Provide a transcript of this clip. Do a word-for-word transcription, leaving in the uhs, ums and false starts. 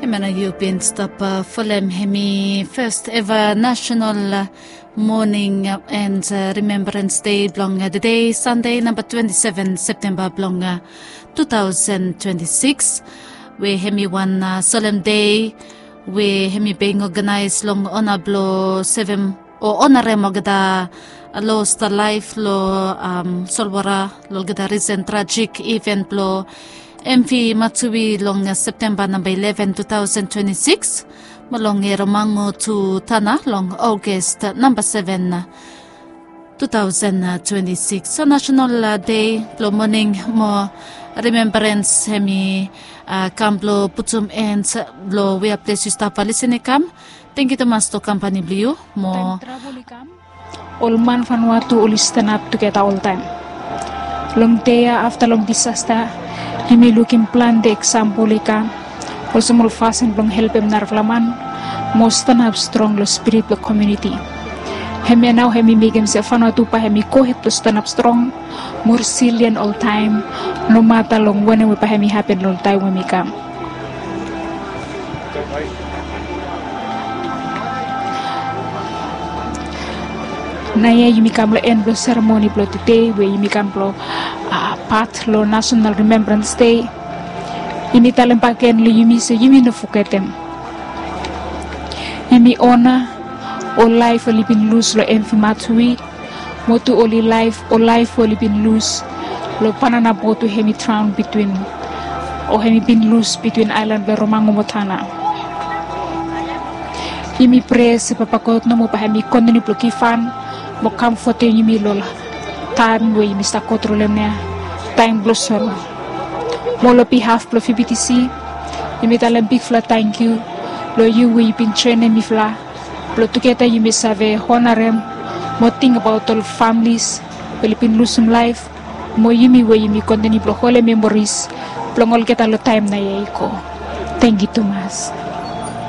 Mena yu bin stap folem hemi fes eva national moning and remembrans dei blong tede Sande namba twenti seven Septemba blong tu taosen twenti sikis, we hemi wan solem dei we hemi being oganaes long ona blong sevem o onarem olgeta lost laef long solwota long olgeta risen trajik iven blong M V Matsui long Septemba namba ileven tu taosen twenti sikis, mo long Eromango tu Tana long Aogas namba seven tu taosen twenti sikis. So nasenal dei blong moning mo rimembrans hemi kam blong putum en blong wea ples yu stap lisin i kam. Tangkiu tumas long kampani blong yu mo ol man Vanuatu oli stanap tugeta oltaem. Long dei ya afta long disasta yumi lukim plante eksampol i kam olsem ol fasin blong helpem narafala man mo stanap strong long spirit blong komuniti. Hemia nao hemi mekem se Vanuatu bae hemi gohed blong stanap strong mo risilian oltaem, nomata long wanem we bae hemi hapen long taem we hemi kam. Naoia yumi kam long en blong seremoni blong tede we yumi kam blong pat long National Remembrance Day. Yumi talem bakegen long yumi se yumi no fogetem. Yumi ona ol laef oli bin lus long M V Matsui, mo tu oli laef ol laef oli bin lus long banana bot we hemi draon bitwin o hemi bin lus bitwin aelan blong Eromango mo Tana. Yumi prea se Papa God nomo bae hemi kontiniu blong givhan mo kamfotem yumi long taem we yumi stap go tru long hemia taem blong soro. Mo long bihaf blong V B T C yumi talem bigfala tangkiu long yu we yu bin joenem mifala blong tugeta yumi save onarem mo tingbaot ol familis we oli bin lusum laef, mo yumi we yumi kontiniu blong holem memoris blong olgeta long taem naoia i go. Tangkiu tumas.